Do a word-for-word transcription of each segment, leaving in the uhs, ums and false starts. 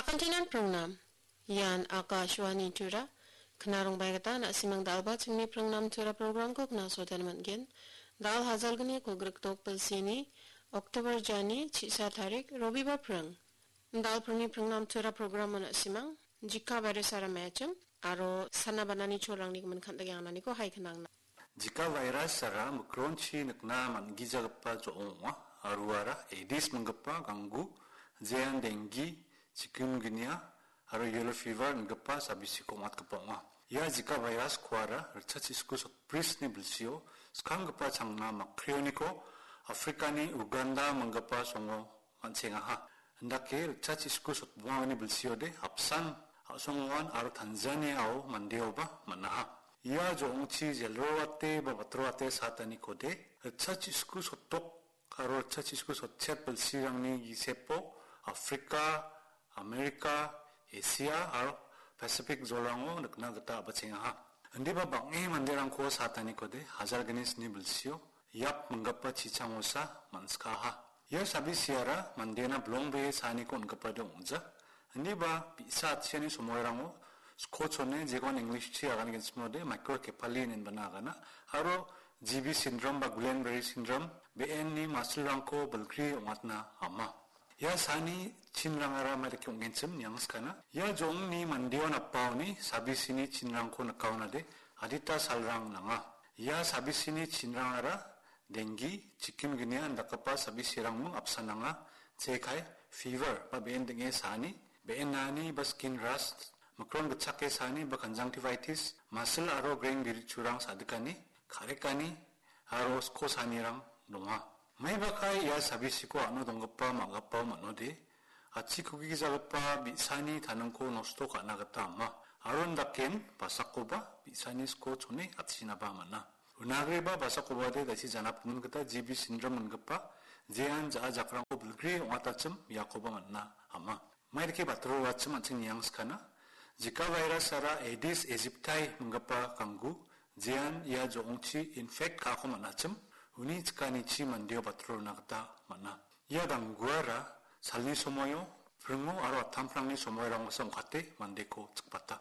Antinan prangnam. Ian Akashvani Tura. Knarongbaigita na·simang dalba chingni prangnam Tura programko knasoten man·gen. Dal hajalgni kogrikdok bilsini October jani chisa tarik Robibar prang. Dal prangni prangnam Tura programo na·simang Jika virus aro mechim aro sana banani cholrangni gimin kan·dake angananiko hai knangna. Jika virus-ara mikronchi nikna man·gijagipa jo·ong ong·a, aro uara Aedes minggipa ganggu, jean dengi, chikungunya, aro yellow fever ingipa sabisiko ong·atgipa ong·a. Ia Jika virus-koara ritchachisku sotbrisni bilsio skanggipa changna makreoniko Afrikani Uganda minggipa songo man·chengaha. Indake ritchachisku sotbongani bilsiode apsan a·songoan aro Tanzaniao mandeoba man·aha. Ia jo·ongchi jelroate ba batroate satanikode ritchachisku sotdok aro ritchachisku sotchet bilsirangni gisepo Afrika, Amerika, Asia aro Pasifik jolrango nikna gita a·bachengaha. Indiba bang·e manderangko satanikode hajar gni sni bilsio Yap minggipa chichangosa man·skaha. Ia sabisiara mandena bilongbee saaniko on·gipade ong·ja. Indiba bi·sa atchiani somoirango skochone jegon English-chi agangenchimode microcephaly inenbana agana, aro G B syndrome ba Guillain-Barré syndrome, be·enni masilrangko bilgri ong·atna ama. Ia saani chinrangara maidake ong·genchim niangskana. Ia jo·ongni mandeo napaoni sabisini chinrangko nikaonade adita salrang nanga. Ia sabisini chinrangara dengi, chikungunya indakgipa sabisirangming apsan nanga. Jekai, fever ba be·en ding·e saani, be·enani ba skin rust, mikron gitchake saani ba conjunctivitis, masil aro greng birichurang sadikani, ka·rekani, aro sko saanirang donga. Maibakai ia sabisiko ano donggipa ma·gipao man·ode, achikkugijagipa bi·sani taningko nosto ka·na gita ama. Aro indaken basakoba bi·sani skochone atchinaba man·a. Unagreba basakobade daisi janapgimin gita G B syndrome ingipa jean ja·a jakrangko bilgri ong·atachim iakoba man·a ama. Maidake batoro roachim an·ching niangskana. Zika virus-ara Aedes aegypti minggipa ganggu, jean ia jo·ongchi infect ka·ako man·achim, uni chikanichi mandeo batoro rona gita man·a. Ia gangguara salni somoio pringo aro atamprangni somoirangosa ong·kate mandeko chikbata.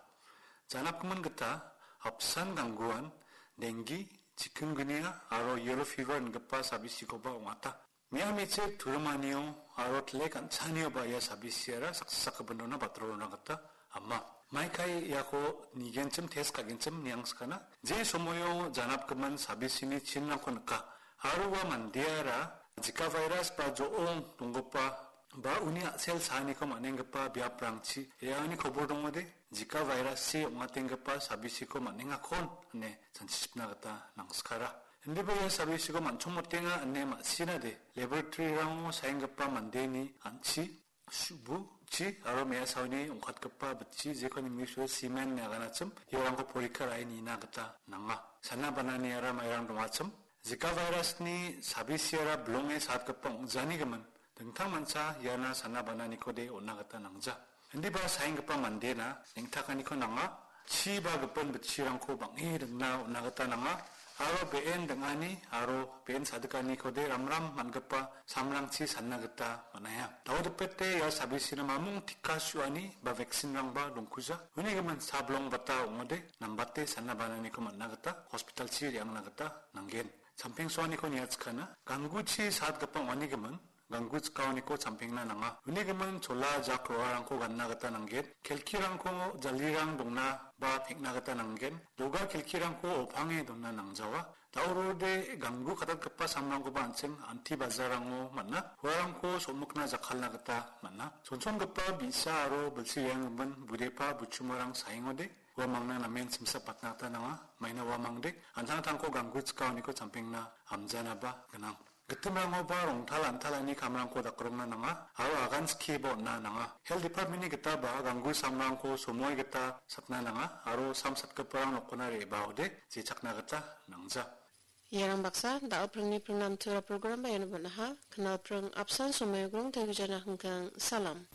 Janapgimin gita apsan gangguan dengi, chikungunya aro yellow fever ingipa sabisikoba ong·ata. Mia me·chik turimanio aro tilek an·chanioba ia sabisiara saksa sakgipin rona batoro rona gita ama. Maikai iako nigenchim test ka·genchim niangskana. Je somoio janapgimin sabisini chinrangko nika. Aro ua mandeara Zika virus ba jo·ong donggipa ba uni a·sel saaniko man·enggipa biaprangchi re·angani kobor dongode, Zika virus-chi ong·atenggipa sabisiko man·engakon ine chanchichipna gita nangskara. Indiba ia sabisiko man·chongmotenga ine ma·sinade, laboratory-rango saenggipa mandeni an·chi, su·buchi aro me·asaoni ong·katgipa bitchi, jekon English-o semen ine aganachim, iarangko porikka ra·e nina gita nanga. Sana bananiara mairang dongachim, Zika virus-ni sabisiara bilonge satgipa ong·janigimin, dingtang mancha iana sana bananikode on·na gita nangja. Indiba saenggipa mandena neng·takaniko nanga, chi ba gipin bitchirangko bang·e ringna on·na gita nanga, aro be·en ding·ani aro be·en sadikaniko de ramram man·gipa samrangchi sanna gita man·aia. Dao dipete ia sabisina mamung tika su·ani ba vaccine-rangba dongkuja. Uni gimin sablong bata ong·ode, nambate sanna bananiko man·na gita hospital-chi re·angna gita nanggen. Champengsoaniko niatskana, gangguchi satgipa ong·ani gimin, ganggu chikaoniko champengna nanga. Uni gimin chola jak ro·arangko ganna gita nanggen. Kelkirangko jalirang dongna ba peng·na gita nanggen. Doga kelkirangko opange donna nangjawa. Daorode ganggu katatgipa samrangkoba an·ching anti bazarango man·a. Uarangko somikna jakkalna gita man·a. Chonchongipa bi·sa aro bilsi re·anggimin budepa buchumarang saengode. Uamangna namen simsapatna gita nanga. Maina uamangde an·tangtangko ganggu chikaoniko champengna amjanaba gnang. Gitimrangoba rongtal an·talani kamrangko dakrongna nanga, aro agan skieba on·na nanga. Health Department-ni gitaba ganggu samrangko somoi gita satna nanga, aro sam satgiparang nokona re·baode jechakna gita nangja. Iarang baksa, da·o pringni pringnam tura program-ba iano bon·aha, knal pring apsan somoi grong tariujana hingkang, salam.